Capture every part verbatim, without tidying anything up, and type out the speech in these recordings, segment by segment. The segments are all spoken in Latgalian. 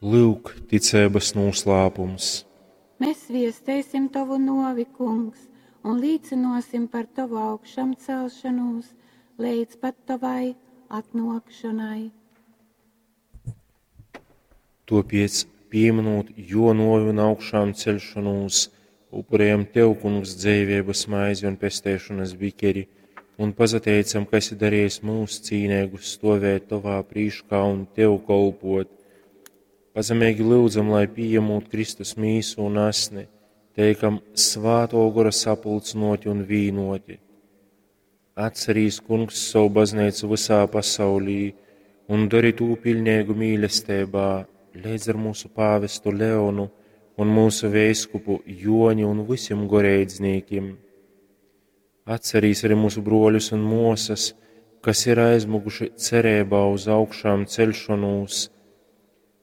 Lyuk, ticeibas nūslāpums. Mēs viesteisim tovu nuovi, Kungs, un līcynuosim par tovu augšamcelšonūs leidz pat tovai atnuokšonai. Tuopiec, pīmynūt juo nuovi un augšāmceļšonūs, upurejam Tev, Kungs, dzeiveibas maizi un pesteišonas bikeri, un pasateicam, ka esi darejis myus cīneigus stuovēt Tovā prīškā un Tev kolpot. Pazemeigi lyudzam, lai pījemūt Kristus mīsu un asni, teikam Svātō Gora sapulcynōti un vīnōti. Atcerīs, Kungs, savu bazneicu vysā pasaulī un dori tū piļneigu mīlesteibā, leidz ar mūsu pāvestu Leonu un mūsu veiskupu Joni un vysim goreidznīkim. Atcerīs arī mūsu bruoļus un muosas, kas ir aizmuguši cereibā uz augšām ceļšanos,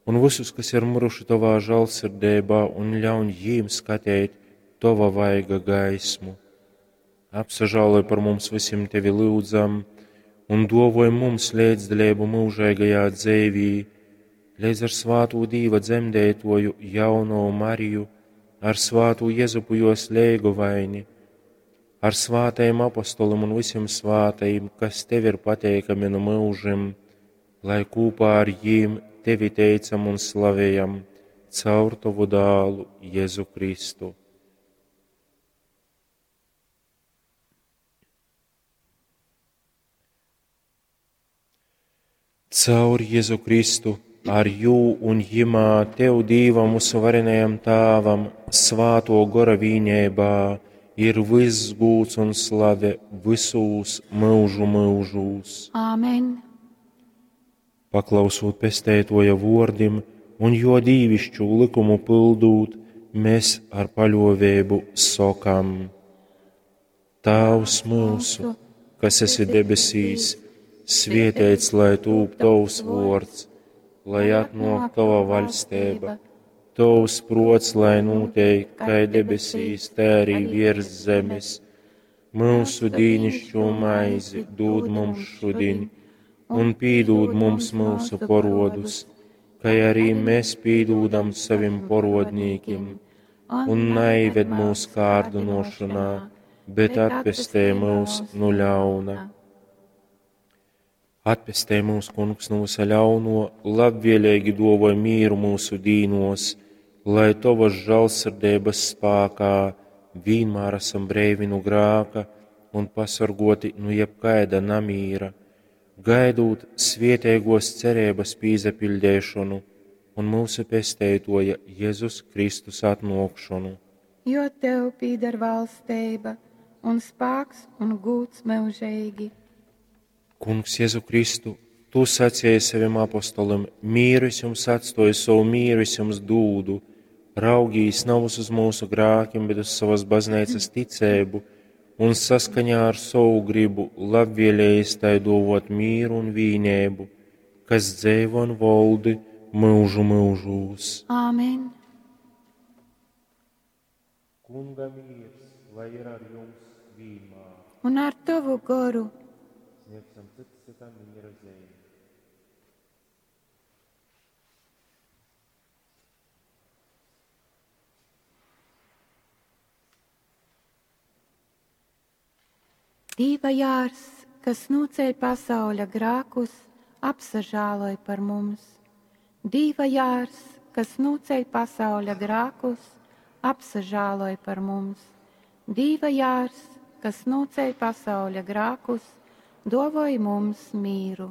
un visus, kas ir miruši Tovā žēlsirdībā, un ļauj jīm skateit Tova vaiga gaismu. Apsažāloj par mums visiem Tevi lūdzam, un dovoj mums līdzdalību mūžīgajā dzeivī, līdz ar svātū Dīva dzemdētoju jauno Mariju, ar svātū Jezupu jos leigovaini, ar svātajiem apostolim un visiem svātajiem, kas Tev ir pateikami no mūžim, lai kopā ar jīm Tevi teicam un slavējam caur Tavu dālu Jēzu Kristu. Caur Jēzu Kristu, ar jū un jimā Tev Dīvam mūsu varenajam Tāvam, svāto gora vīnībā, ir viss gūds un slave visūs mūžu mūžūs. Āmen! Paklausūt pesteitoja vordim un jo dīvišķu likumu pildūt, mēs ar paļovēbu sokam: Tāvs mūsu, kas esi debesīs, svietēts lai tūp tavs vords, lai atnāk tava vaļstība, tavs prots, lai notiek, kā debesīs, tā arī virs zemes. Mūsu dīnišķo maizi dod mums šodien, un pīdūd mums mūsu porodus, kā arī mēs pīdūdam savim porodnīkim, un naived mūs kārdinošanā, bet atpestē mūs no ļauna. Atpestē mūs, Kungs, no visa ļauno, labvēlīgi dovoj mīru mūsu dīnos, lai Tavas žēlsirdības spākā vienmēr esam breivi no grāka un pasargoti no jebkaida namīra, gaidūt svietēgos cerības pīzapildēšanu un mūsu pesteitoja Jēzus Kristus atnākšanu. Jo Tev pīder valstība un spāks un gūts mūžīgi. Kungs Jēzu Kristu, Tu sacīji saviem apostolim, mīru es jums atstoju, savu mīru es jums dūdu, raugīs nav uz mūsu grākiem, bet uz savas baznīcas ticēbu, un saskaņā ar savu gribu labvēlējis tai dovot mīru un vīnēbu, kas dzēvo un voldi mūžu mūžūs. Āmen! Kunga mīrs, lai ir ar jums vienmēr. Un ar tavu goru. Sniegsim cits citam miera zīmi. Dīva jārs, kas noceļ pasauļa grākus, apsažāloj par mums. Dīva jārs, kas noceļ pasauļa grākus, apsažāloj par mums. Dīva jārs, kas noceļ pasauļa grākus, dovoj mums mīru.